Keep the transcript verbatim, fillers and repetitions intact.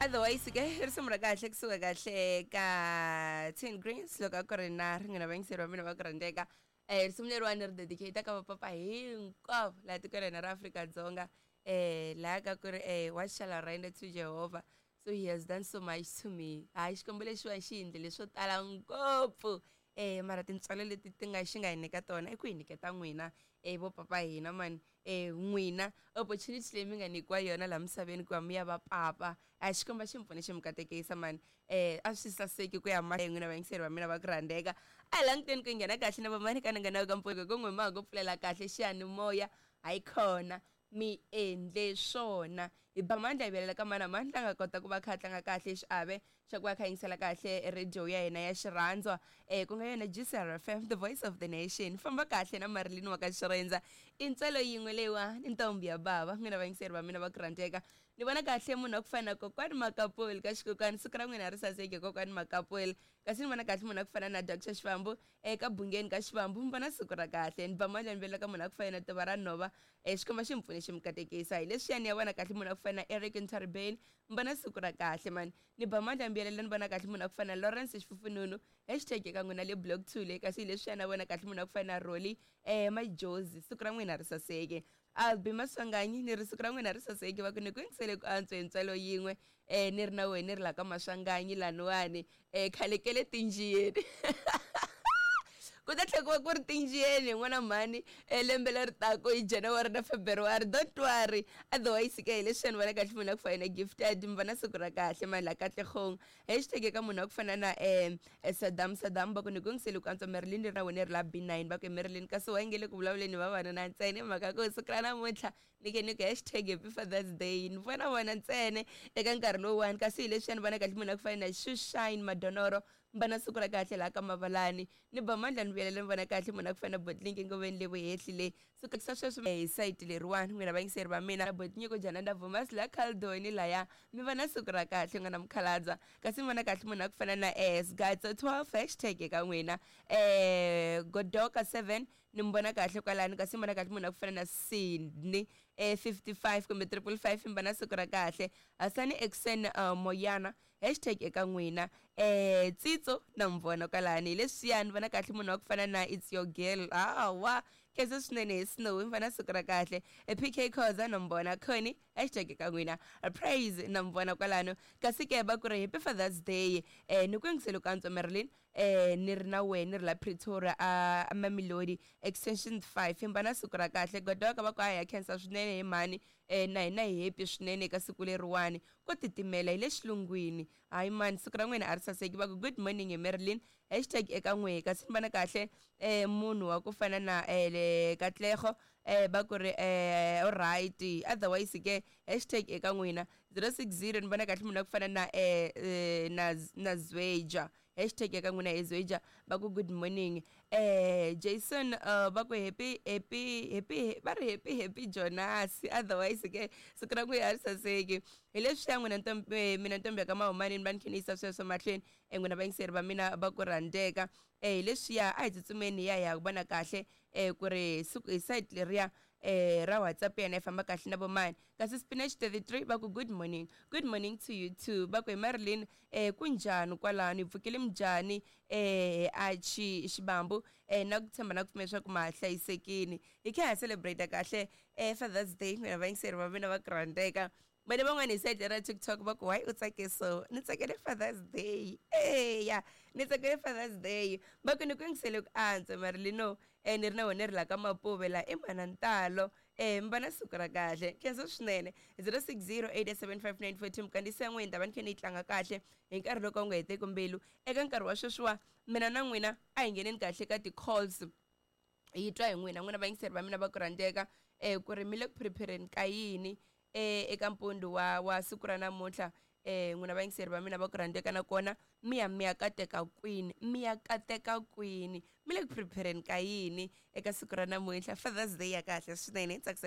Otherwise ke risimu ra kahle kusuka kahle ka Ten Greens loko a ku ri na ringana vayingiseri va mina va ku rhandzeka eh risimu leriwani ri dedicate ka vapapa hinkwavo laha tikweni ra Afrika-Dzonga eh laha ka ku ri eh what shall I render to Jehovah so he has done so much to me hayi xikwembu lexiwani xi endle leswo tala ngopfu eh mara tintswalo leti ti nga xi nga hi nyika tona i ku hi nyiketa n'wina eh vo papa hina mani eh n'wina opportunity leyi mi nga nyikiwa yona laha misaveni ku va mi ya va papa a xikwembu xi mi pfune xi mi katekisa mani eh a swi saseki ku ya ma n'wina vayingiseri va mina va ku rhandzeka a hi languteni ku nghena kahle na vamani ka ni nga na ka mpfuko ku n'wi ma ha ku pfulela kahle xiyanimoya hayikhona mi endle swona hi ba mandla hi velela ka mana mandla a nga kota ku va kha a tlanga kahle xiave xa ku va kha yingisela kahle radio ya hina ya xirhandzwa eh ku nga yona G C R F M the voice of the nation famba kahle na Marilyn wa ka Xirhendza i ntswalo yin'we leyiwa ni ntombi ya bava n'wina vayingiseri va mina va ku rhandzeka ni vona kahle munhu wa ku fana na kokwani Makapuli ka xikokwani siku ra n'wina ri saseke kokwani Makapuli kasi ni vona kahle munhu wa ku fana na Doctor Xivambu eka Bungeni ka Xivambu mi vona siku ra kahle ni ba mandla ni velela ka munhu wa ku fana na Tiva ra Nhova eh xikwembu xi mi pfune xi mi katekisa hi leswiyani ya vona kahle munhu wa ku fana na Eric Ntaribeni mi vona siku ra kahle mani ni ba mandla ni vuyelela ni vona kahle munhu wa ku fana na Lawrence Xifufununu hashtag eka n'wina le block two le kasi hi leswiyani a vona kahle munhu wa ku fana na Rolly eh Majozi siku ra n'wina ri saseke Albi Maswanganyi ni ri siku ra n'wina ri saseke va ku ni ku yingisele ku antswa hi ntswalo yin'we eh ni ri na wena ni ri la ka Maswanganyi laniwani eh khale ke le tinjiyeni ku ta tlhela ku va ku ri tinjiyeni n'wana mhani lembe leri taka hi January na February don't worry otherwise ke hi leswi ni vona kahle munhu a ku fana na Gifted mi vona siku ra kahle mani la Katlehong hashtag eka munhu a ku fana na eh Saddam Saddam va ku ni ku yingisele ku antswa Marilyn ri na wena ri la B nine va ku Marilyn kasi wa nge le ku vulavuleni vavanuna ntsena hi mhaka ku siku ra namuntlha ni ke ni ku hashtag happy Father's Day ni vona vona ntsena eka nkarhi lowuwani kasi hi leswi ni vona kahle munhu a ku fana na Shushine Madonoro mbana siku ra kahle laha ka Mavalani ni ba mandla ni vuyelela ni vona kahle munhu a ku fana na Botlinki ngoveni le vuhehli le so sa sweswo hi sayiti leriwani n'wina vayingiseri va mina Botnyiko Jananda Vumas la Caldoni laya mi va na siku ra kahle n'wana mukhalabya kasi mi vona kahle munhu a ku fana na S Gatso twelve hashtag eka n'wina eh Godoka seven ni mi vona kahle kwalano kasi mi vona kahle munhu a ku fana na Sydney eh fifty-five kumbe triple five mi va na siku ra kahle Hasani Exen uh, Moyana hashtag eka n'wina eh Tsitso na mi vona kwalani hi leswiyani vona kahle munhu wa ku fana na It's Your Girl hawa khensa swinene hi Snow mi va na siku ra kahle P K Khoza na mi vona Connie hashtag eka n'wina Praise na mi vona kwalano kasi ke va ku ri happy Father's Day eh ni ku yingisele ku antswa Marilyn eh ni ri na wena ni ri la Pretoria a Mamelodi extension five mi va na siku ra kahle Godoka va ku a ya khensa swinene hi mhani eh na hina hi happy swinene eka siku leriwani ko titimela hi le xilungwini hayi mani siku ra n'wina a ri saseki va ku good morning hi Marilyn hashtag eka n'we kasi ni vona kahle eh munhu wa ku fana na eh le Katlego eh va ku ri eh alright otherwise ke hashtag eka n'wina zero six zero ni vona kahle munhu wa ku fana na eh na na Zweja hashtag eka n'wina hi Zweja va ku good morning eh Jason uh, va ku happy happy happy va ri happy happy Jonas otherwise ke siku ra n'wina a ri saseki hi leswi ya n'wina ntombi mina ntombi ya ka Mahumani ni va ni khe ni yisa sweswo mahlweni eh n'wina vayingiseri va mina va ku rhandzeka eh hi leswiya a hi tsutsumeni hi ya hi ya vona kahle eh ku ri siku hi site leriya eh ra WhatsApp yena yi famba kahle na vomani kasi Spinach thirty-three va ku good morning good morning to you too va ku hi Marilyn eh kunjhani kwalano hi pfukile minjhani eh a chi Xibambu eh na ku tshemba na ku pfumela leswaku ma hlayisekile hi kha ha celebrate kahle eh Father's Day n'wina vayingiseri va mina va ku rhandzeka vane van'wani hi site ra TikTok va ku why u tsake so ni tsakele Father's Day eya ni tsakele Father's Day va ku ni ku yingisele ku antswa Marilyn eh ni ri na wena ri la ka Mapuve la i mana ntalo eh mi va na siku ra kahle khensa swinene zero six zero eight seven five nine four two mukandisa n'wina ta va ni khe ni yi tlanga kahle hi nkarhi loko u nga heteki mbilu eka nkarhi wa sweswiwa mina na n'wina a hi ngheneni kahle ka ti-calls hi twa hi n'wina n'wina vayingiseri va mina va ku rhandzeka eh ku ri mi le ku prepareni ka yini eh eka mpundu wa wa siku ra namuntlha eh n'wina vayingiseri va mina va ku rhandzeka nakona mi ya mi ya kateka kwini mi ya kateka kwini mi le ku prepareni ka yini eka siku ra namuntlha Father's Day ya kahle swinene tsakisa.